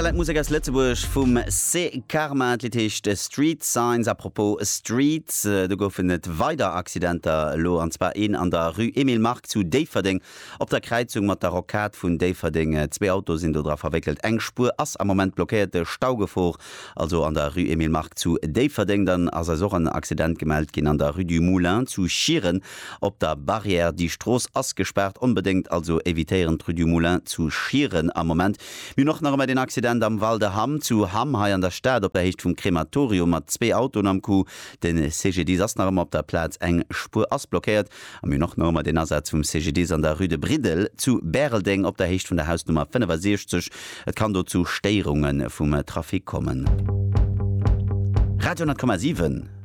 Exzellent Musek aus Lëtzebuerg vum C. Karma. D'Lidd heescht Street Signs. A propos Streets, do goufen et weider Accidenter elo, an zwar een an der Rue Emile Mark zu Déifferdeng op der Kräizung mat der Rocade vun Déifferdeng. Zwee Autoe sinn do dra verwéckelt. Eng Spuer ass am Moment blockéiert. Staugefor also an der Rue Emile Mark zu Déifferdeng. Dann ass eis och en Accident gemellt ginn an der Rue du Moulin zu Schieren. Op der Barrière, déi Strooss ass gespaart, onbedéngt also évitéieren d'Rue du Moulin zu Schieren am Moment. Mir hunn och nach ëmmer deen Accident am Val de Hamm zu Hamm hei an der Stad op der Héicht vum Krematorium mat zwee Autoen am Coup. De CGDIS ass nach ëmmer op der Plaz, eng Spuer ass blockéiert. A mir hunn och nach ëmmer deen Asaz vum CGDIS an der Rue de Briddel zu Bäreldeng op der Héicht vun der Hausnummer 65. Et kann do zu Stéierunge vum Trafic kommen. Radio 10,7.